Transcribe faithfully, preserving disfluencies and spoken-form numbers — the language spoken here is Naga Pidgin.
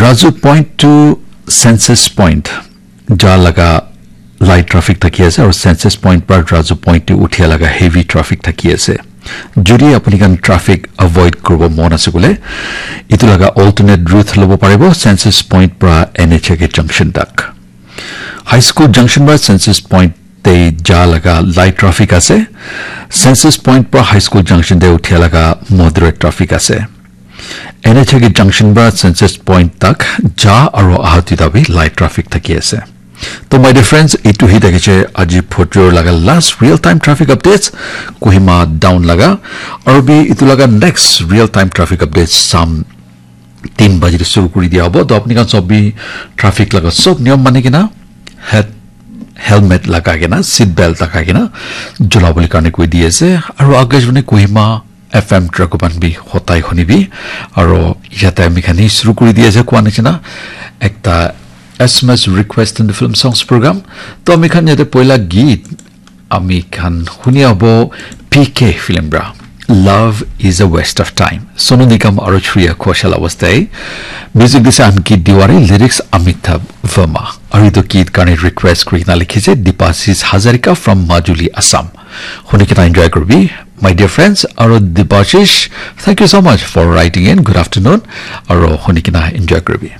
Raju Point to Census Point ja laga light traffic thaki ase, aru Census Point para Raju Point to uthia laga heavy traffic thaki ase. Jodi apuni khan traffic avoid kuribo mon ase kule, itu laga alternate route lobo paribo Census Point para N H A K junction tak. High School Junction para Census Point te ja laga light traffic ase. Census Point para High School Junction te uthia laga moderate traffic ase. N H A K junction para Census Point tak ja aru aha duita bi light traffic thaki ase. To my dear friends, itu hi thakise aji photor laga last real time traffic updates Kohima down laga. Aru bi itu laga next real time traffic updates sam tin baji te shuru kuri dia hobo. To apni khan sob bi traffic laga sob niyom mani kena head helmet lagai kena, seat belt lagai kena jula bole karne koi di ase. Aru Akashvani Kohima F M Dragoban bi hotai hunibi. Aru yate ami khan hi shuru kuri di ase koa nishina ekta S M S request in the film songs program. To ami khan yate poila geet ami khan huni abo P K film bra. Love is a waste of time. Sonu Nigam aru Shreya Ghoshal awaste. Music dise Ankit Tiwari, lyrics Amitabh Verma. Aru itu geet karne request kuri kena likhise Dipashish Hazarika from Majuli, Assam. Huni kena enjoy kuribi. My dear friends, aru Dipashish, thank you so much for writing in. Good afternoon. Aru huni kena enjoy kuribi.